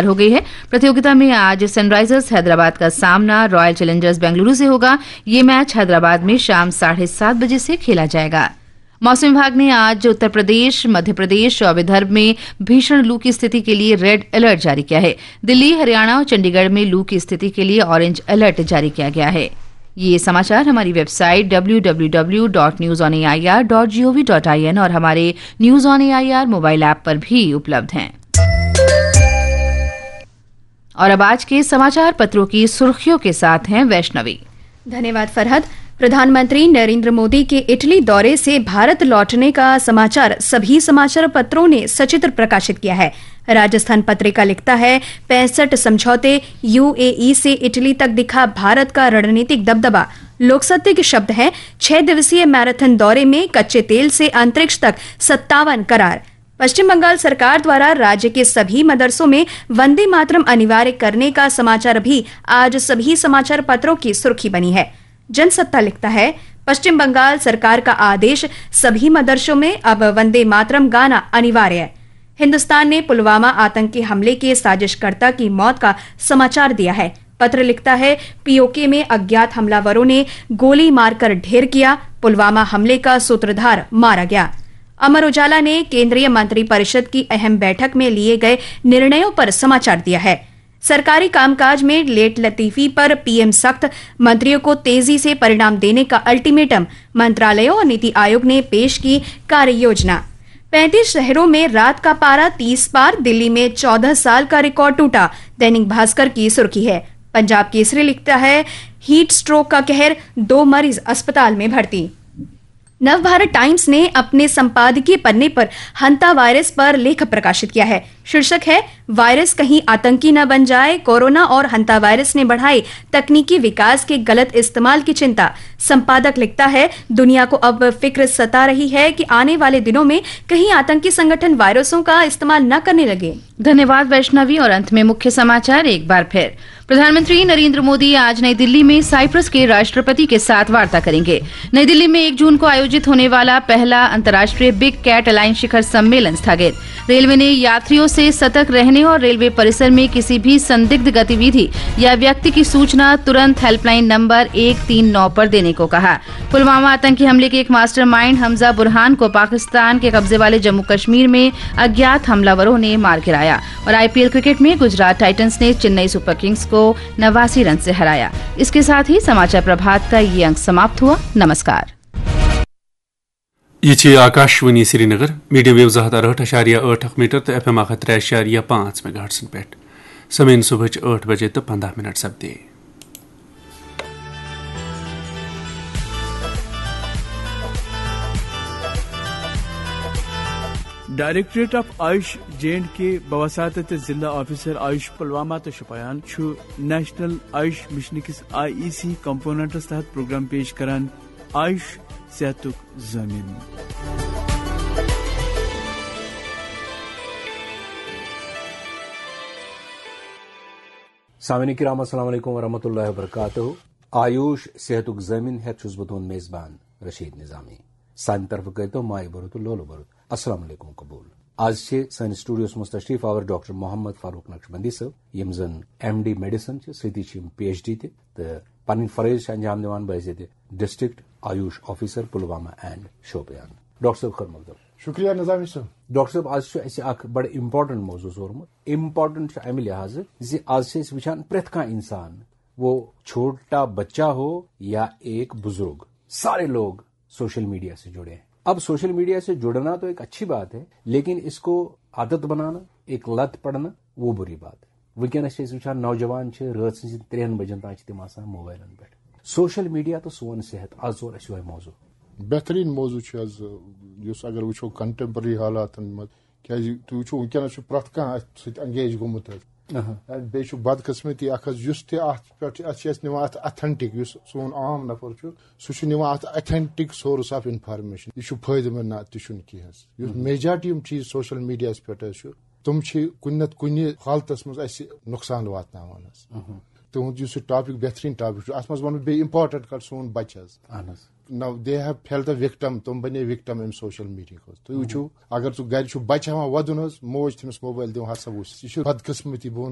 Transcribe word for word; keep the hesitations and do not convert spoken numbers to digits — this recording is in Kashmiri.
हो गई है। प्रतियोगिता में आज सनराइजर्स हैदराबाद का सामना रॉयल चैलेंजर्स बेंगलुरु से होगा। ये मैच हैदराबाद में शाम साढ़े सात बजे से खेला जाएगा। मौसम विभाग ने आज उत्तर प्रदेश, मध्य प्रदेश और विदर्भ में भीषण लू की स्थिति के लिए रेड अलर्ट जारी किया है। दिल्ली, हरियाणा और चंडीगढ़ में लू की स्थिति के लिए ऑरेंज अलर्ट जारी किया गया है। ये समाचार हमारी website W W W dot news on A I R dot G O V dot I N और हमारे news on A I R mobile app पर भी उपलब्ध हैं। और अब आज के समाचार पत्रों की सुर्खियों के साथ हैं वैष्णवी। धन्यवाद फरहद। प्रधानमंत्री नरेंद्र मोदी के इटली दौरे से भारत लौटने का समाचार सभी समाचार पत्रों ने सचित्र प्रकाशित किया है। राजस्थान पत्रिका लिखता है, पैंसठ समझौते, यूएई से इटली तक दिखा भारत का रणनीतिक दबदबा। लोकसत्य के शब्द हैं, छह दिवसीय मैराथन दौरे में कच्चे तेल से अंतरिक्ष तक सत्तावन करार। पश्चिम बंगाल सरकार द्वारा राज्य के सभी मदरसों में वंदे मातरम अनिवार्य करने का समाचार भी आज सभी समाचार पत्रों की सुर्खी बनी है। जनसत्ता लिखता है, पश्चिम बंगाल सरकार का आदेश, सभी मदरसों में अब वंदे मातरम गाना अनिवार्य है। हिंदुस्तान ने पुलवामा आतंकी हमले के साजिशकर्ता की मौत का समाचार दिया है। पत्र लिखता है, पीओके में अज्ञात हमलावरों ने गोली मारकर ढेर किया, पुलवामा हमले का सूत्रधार मारा गया। अमर उजाला ने केंद्रीय मंत्रिपरिषद की अहम बैठक में लिए गए निर्णयों पर समाचार दिया है। सरकारी कामकाज में लेट लतीफी पर पीएम सख्त, मंत्रियों को तेजी से परिणाम देने का अल्टीमेटम, मंत्रालयों और नीति आयोग ने पेश की कार्य योजना। पैंतीस शहरों में रात का पारा तीस पार, दिल्ली में चौदह साल का रिकॉर्ड टूटा, दैनिक भास्कर की सुर्खी है। पंजाब केसरी लिखता है, हीट स्ट्रोक का कहर, दो मरीज अस्पताल में भर्ती। नवभारत टाइम्स ने अपने संपादकीय पन्ने पर हंता वायरस पर लेख प्रकाशित किया है। शीर्षक है, वायरस कहीं आतंकी न बन जाए, कोरोना और हंता वायरस ने बढ़ाई तकनीकी विकास के गलत इस्तेमाल की चिंता। संपादक लिखता है, दुनिया को अब फिक्र सता रही है कि आने वाले दिनों में कहीं आतंकी संगठन वायरसों का इस्तेमाल न करने लगे। धन्यवाद वैष्णवी। और अंत में मुख्य समाचार एक बार फिर। प्रधानमंत्री नरेंद्र मोदी आज नई दिल्ली में साइप्रस के राष्ट्रपति के साथ वार्ता करेंगे। नई दिल्ली में एक जून को आयोजित होने वाला पहला अंतर्राष्ट्रीय बिग कैट अलायंस शिखर सम्मेलन स्थगित। रेलवे ने यात्रियों से सतर्क रहने और रेलवे परिसर में किसी भी संदिग्ध गतिविधि या व्यक्ति की सूचना तुरंत हेल्पलाइन नंबर एक तीन नौ पर देने को कहा। पुलवामा आतंकी हमले के एक मास्टरमाइंड हमजा बुरहान को पाकिस्तान के कब्जे वाले जम्मू कश्मीर में अज्ञात हमलावरों ने मार गिराया। और आईपीएल क्रिकेट में गुजरात टाइटंस ने चेन्नई सुपर किंग्स को नवासी रन से हराया। इसके साथ ही समाचार प्रभात का ये अंक समाप्त हुआ। नमस्कार। یہ چھِ آکاشوانی سرینگر، میڈیم ویو زٕ ہَتھ اَرہٲٹھ اَشاریہ ٲٹھ اکھ میٹر تہٕ ایف ایم اکھ ہَتھ ترٛےٚ اَشاریہ پانٛژھ میگا ہرٹزن پٮ۪ٹھ۔ سمعین، صبحٕچ ٲٹھ بجے تہٕ پنٛداہ منٹ سپدے۔ Directorate of AYUSH J and K بوساطت ضلع آفیسر آیوش پلوامہ تہٕ شوپیان چھُ نیشنل آیوش مشن کِس آئی ای سی کمپوننٹس تحت پروگرام پیش کران، آیوش صحتُک ضٲمِن۔ سامعین کرام، السلام علیکم ورحمۃ اللہ وبرکاتہ۔ آیوش صحتُک ضٲمِن ہٮ۪تھ چھُس بہٕ تُہُنٛد میزبان رشید نظامی۔ سانہِ طرفہٕ کٔرۍتو مایہِ بھرُت تہٕ لولہٕ بھرُت السلام علیکم قبول۔ آز چھِ سٲنِس سٹوڈیوس منٛز تشریف آور ڈاکٹر محمد فاروق نقشبندی صٲب، یِم زن ایم ڈی میڈیسن چھِ، سۭتی چھِ یِم پی ایچ ڈی تہِ، تہٕ پنٕنۍ فرٲیض چھِ انجام دِوان بحیثیت district AYUSH officer Pulwama and Shopian. Doctor صٲب، خٲر مقدم۔ شکریہ نظامی صٲب۔ ڈاکٹر صٲب، آز چھُ اَسہِ اکھ بڑٕ امپورٹنٹ موضوع سوٗرمُت۔ امپورٹنٹ چھُ امہِ لحاظہٕ زِ آز چھِ أسۍ وٕچھان پرٛٮ۪تھ کانٛہہ انسان، وہ چھوٹا بچہ ہو یا ایک بزرگ، سارے لوگ سوشل میڈیا سے جڑے ہیں۔ اب سوشل میڈیا سے جڑنا تو ایک اچھی بات ہے، لیکن اس کو عادت بنانا، ایک لت پڑنا، وہ بری بات ہے۔ وٕنکیٚنَس چھِ أسۍ وٕچھان، نوجوان چھِ رٲژ سٕنٛزِ ترٛٮ۪ن بجن تام چھِ تِم آسان موبایلن پٮ۪ٹھ۔ سوشل میڈیا تہٕ سون صحت، آز ژوٚل اَسہِ یِہوٚے موضوع۔ بہترین موضوع چھُ حظ، یُس اگر وٕچھو کنٹمپرری حالاتن منٛز، کیازِ تُہۍ وٕچھِو وٕنکیٚنَس چھُ پرٛٮ۪تھ کانٛہہ اَتھ سۭتۍ انگیج گوٚمُت حظ۔ اہا۔ بیٚیہِ چھُ بدقسمتی اکھ حظ، یُس تہِ اَتھ پٮ۪ٹھ چھُ، اَتھ چھِ أسۍ نِوان اَتھ authentic، یُس سون عام نفر چھُ، سُہ چھُ نِوان اَتھ authentic source of information۔ یہِ چھُ فٲیدٕ مند، نہ تہِ چھُنہٕ کینٛہہ حظ۔ یُس مہم۔ میجارٹی یِم چیٖز سوشل میڈیاہَس پٮ۪ٹھ حظ چھُ، تِم چھِ کُنہِ نتہٕ کُنہِ حالتس منٛز اَسہِ نۄقصان واتناوان حظ۔ مہم۔ تُہُنٛد یُس یہِ ٹاپک بہترین ٹاپک چھُ، اَتھ منٛز وَنہٕ بہٕ بیٚیہِ امپورٹنٹ کَتھ، سون بچہِ حظ۔ اہن حظ۔ Now they have felt the victim، تِم بنے وکٹم امہِ سوشل میڈیا ہٕنٛدۍ۔ تُہۍ وٕچھِو، اگر سُہ گرِ چھُ بچہِ ہٮ۪وان وَدُن حظ، موج چھِ تٔمِس موبایل دِوان، ہسا وٕچھ، یہِ چھُ بدقسمتی، بہٕ وَنہٕ